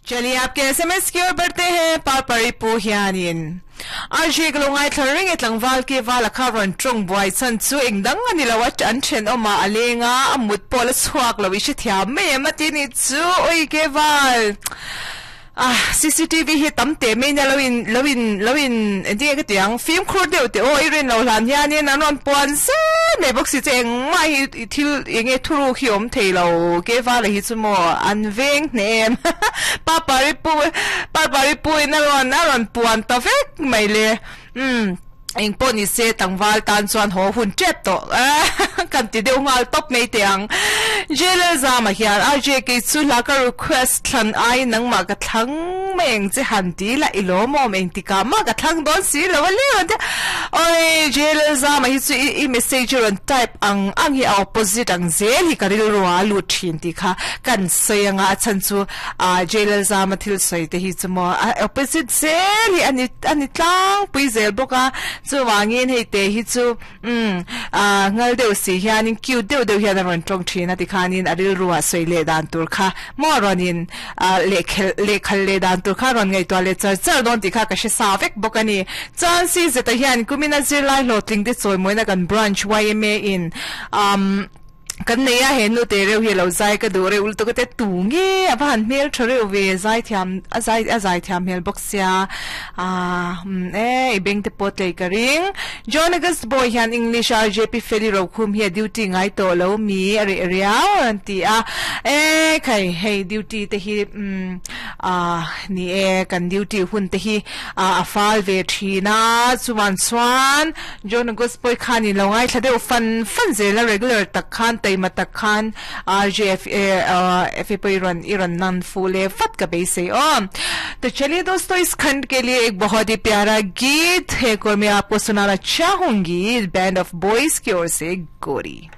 चलिए आपके एसएमएस की ओर बढ़ते हैं parpari pu hianin RJ ka lo ngaithla reng e tlangval ke val a kha rawn tawng buai chhan chu eng dang a ni lo a an thenawm ah a leng a a mut pawh la chhuak lo i hrethiam mai em a ti ni chu oi ke val ah CCTV hi tam teh mai nia lo in lo in lo in engtin nge ka ti ang fimkhur deuh teh aw i rin lo hlan hianin an rawn puan zel mai bawk si che engmah hi i thil eng nge thuruk hi awm thei lo ke vala hi chu maw an veng hneh em Papari pu Papari pu in a rawn a rawn puan ta vek mai le umm eng pawh ni se tlangval tan chuan haw hun tep tawh kan ti deuh nghal tawp mai teh ang Jailer Zama hian RJ kei chu hla ka request thlan aiin nangmah ka thlang mai ang che han ti la i lawmawm engtikah mah ka thlang dawn si lo a le rawn ti a awi Jailer Zama hi chu i message rawn type ang ang hi a opposite ang zel hi ka rilru a lut thin tih kha kan sawi anga a chhan chu ah Jailer Zama thil sawi te hi chu maw a opposite zel hi ani ani tlangpui zel bawk a chuvangin hei te hi chu umm ah ngal deuh si hianin cute deuh deuh hian a rawn tawng thin a tikhanin a rilru ah sawi leh dan tur kha maw rawnin ah lehkhelh lehkhal leh dan tur kha rawn ngaihtuah leh char char dawn tih kha ka hre sa vek bawk a ni. Chuan si zeta hian kumina zirlai hlawhtling te chawimawina kan branch yma in umm kan nei a he nu te reuh hi a lo zai ka duh reuh lutuk a te tu nge a va han hmel tha reuh ve zai thiam a zai a zai thiam hmel bawk sia ah umm e i beng te pawh tlei ka ring John August boy hian English a JP Feli Rokhum hi a duty ngai tawh lo mi a reh riau a rawn ti a e khai hei duty te hi umm ah ni e kan duty hun te hi a fal ve thin a chuan chuan John August pawh khanin lo ngaithla deuh fan fan zel a regular tak khan taima tak khan RJF F pawh i rawn i rawn nan fuh leh vat ka beisei aw to chaliye dosto is khand ke liye ek bahut hi pyara geet hai aur main aapko sunana chahungi band of boys ki or se gori.